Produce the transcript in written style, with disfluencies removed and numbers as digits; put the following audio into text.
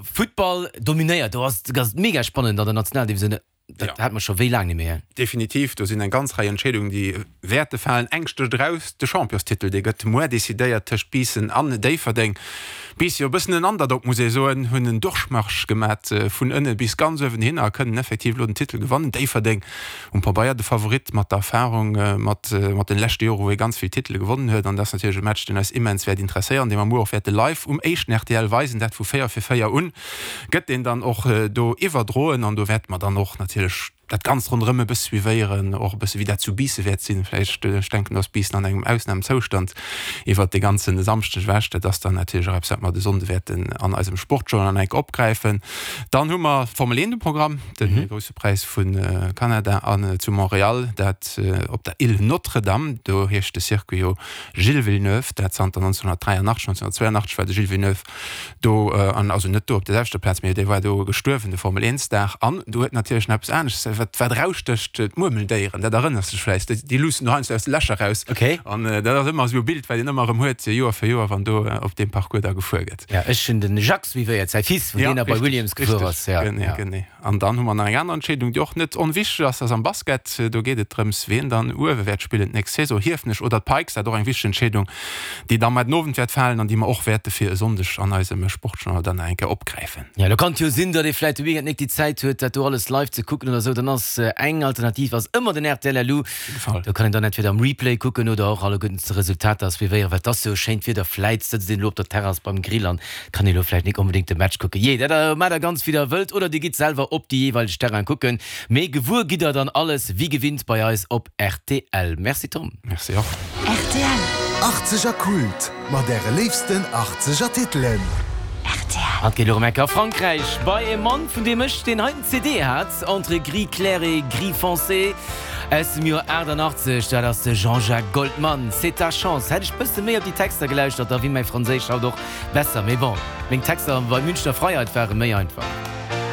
Futtball dominéiert, do ass et mega spannend an der Nationaldivisioun. Dat hat mer scho wéi laang net méi. Definitiv, do sinn eng ganz Rei Entscheedungen, déi wäerte falen. Eng stécht eraus, de Championstitel, dee gëtt muer decidéiert tëscht Biissen an Déifferdeng. Biissen, jo e bëssen en Underdog, muss ee soen, hunn en Durchmarsch gemat vun ënne bis ganz uewen hin a kënnen effektiv elo den Titel gewannen. Déifferdeng um Pabeier de Favorit mat der Erfarung, mat mat den leschte Jore wou ee ganz vill Titele gewonnen huet. An dat ass natierlech e Match, deen eis immens wäert interesséieren, dee mer muer och wäerte live um éischten rtl weisen, dat vu 4 fir 4 un. Gëtt deen dann och do iwwerdroen an do wäerte mer dann och natierlech dat Ganzt ronderëm e bësse suivéieren, och e bësse wéi dat zu Biissen wäert sinn. Vläicht, ech denken, do ass Biissen an engem Ausnamezoustand iwwert de ganze Samschdeg ewech. Dat ass dann natierlech och eppes, wat mer de Sonnde wäerten an eisem Sportjournal nach eng Kéier opgräifen. Dann hu mer d'Formel 1 um Programm, de Grousse Präis vu Kanada an zu Montréal, dat op der Île Notre-Dame. Do heescht de Circuit jo Gilles Villeneuve, dat zanter 1983. 1982 war de Gilles Villeneuve Do, an also net do op der selwechter Plaz, mee dee war do gestuerwen, de Formel 1 Star. An do huet natierlech nach eppes anescht, wat wat erausstécht, d'Murmeldéieren, dat erënners dech vläicht, déi déi luussen do heiansdo aus de Lächer raus. Okay. An dat ass ëmmer esou e Bild, wat een ëmmer erëm huet, Joer fir Joer, wann do op deem Parcours da gefuer gëtt. Ja, ech hunn den Jacques suivéiert, säi Fils, wou Ja, deen da bei richteg, Williams gefuer richteg, ass. Ja, genee, ja. genee. An dann hu mer nach eng aner Entscheedung, déi och net onwichteg ass, dat ass am Basket. Do geet et drëms, wien dann uewe wäert spillen d'nächst Saison, Hiefenech oder d'Pikes. Dat och eng wichteg Entscheedung, déi da mar den Owend wäert falen an déi mer och wäerte fir e Sonndeg an eisem Sportjournal dann nach eng Kéier opgräifen. Jo, lo kann et jo sinn, datt ee vläit de Weekend nik déi Zäit huet, dat do alles live ze kucken oder esou. Dann ass eng Alternativ ass ëmmer den rtl LU. Do kann een dann entweder am Replay kucken oder och alleguerten d'Resultater suivéieren, well et ass jo schéint Wieder. Vläit sëtzt een elo op der Terrass beim Grill an Kann ee lo vläicht nik onbedéngt de Match kucken. Jee, dat maacht der ganz wéi der wëllt oder dir gitt selwer op déi jeeweileg Terrainen kucken. Mee gewuer gitt der dann alles wéi gewinnt bei eis op rtl. Merci Tom. Merci och. Rtl. Achtzeger Kult mat äre léifsten Achtzeger Titelen. Rtl. An et geet elo rem enke a Frankräich bei e Mann vun deem ech deen heiten CD hat, Entre gris clair et gris foncé. Aus dem Joer 88, dat ass de Jean-Jacques Goldman, C'est ta chance. Hätt ech bësse méi op déi Texter gelauschtert, da wier mäi Franséisch haut och besser. Mee bon, meng Texter bei Münchner Freiheit ware méi einfach.